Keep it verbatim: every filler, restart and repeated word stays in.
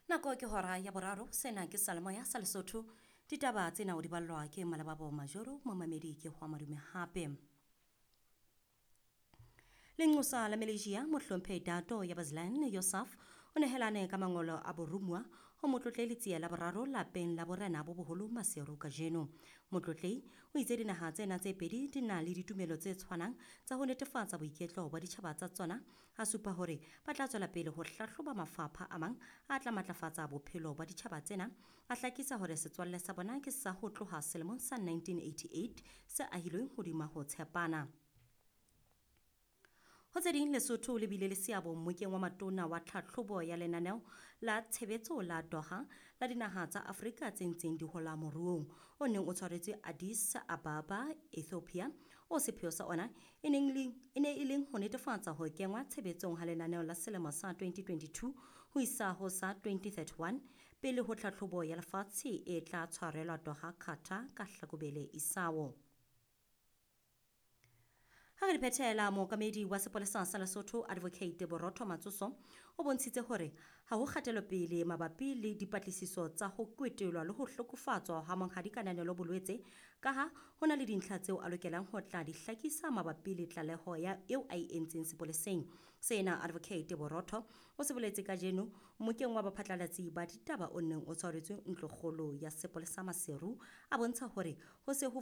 Nako ke hora ya boraro, sena ke Salemoya sa Lesotho. Ditaba tsena o di ballwa ke Malebabo Majoro, momamedi ke hwa madume hape. Lenqosa la Malaysia mohlomphehi Dato Yabazlan Yosaf o nehelane ka mangolo a boromuwa ho Motlotlehi Letsie la boraro lapeng la borena bo boholo Maseru kajeno. Motlotlehi o itse dinaha tsena tse pedi di na le ditumelo tse tshwanang tsa ho netefatsa boiketlo ba ditjhaba tsa tsona, a supa hore ba tla tswela pele ho hlahloba mafapha a mang a tla matlafatsa bophelo ba ditjhaba tsena, a hlakisa hore setswalle sa bona ke sa ho tloha selemong sa nineteen eighty-eight se ahilweng hodima ho tshepana. Ho tse ding, Lesotho le bile le seabo mmokeng wa matona wa tlhahlobo ya lenaneo la tshebetso la Doha la dinaha tsa Afrika tse ntseng di hola moruong o neng o tshwaretswe Addis Ababa, Ethiopia, o sepheo sa ona e neng le, e ne e leng ho netefatsa ho kengwa tshebetsong ha lenaneo la selemo sa twenty twenty-two ho isa ho sa twenty thirty-one pele ho tlhahlobo ya lefatshe e tla tshwarelwa Doha, Qatar ka Hlakubele isao. Ha re di phethela, mookamedi wa sepolesa sa Lesotho Advocate Borotho Matsoso o bontshitse hore ha ho kgatelopele mabapi le dipatlisiso tsa ho kwetelwa le ho hlokofatswa ha Monghadi Kananelo Bolwetse, kaha ho na le dintlha tseo a lokelang ho tla di hlakisa mabapi le tlaleho ya eo a e entseng sepoleseng. Sena Advocate Borotho o se boletse kajeno mmokeng wa baphatlalatsi ba ditaba o neng o tshwaretswe ntlokgolo ya sepolesa Maseru, a bontsha hore ho se ho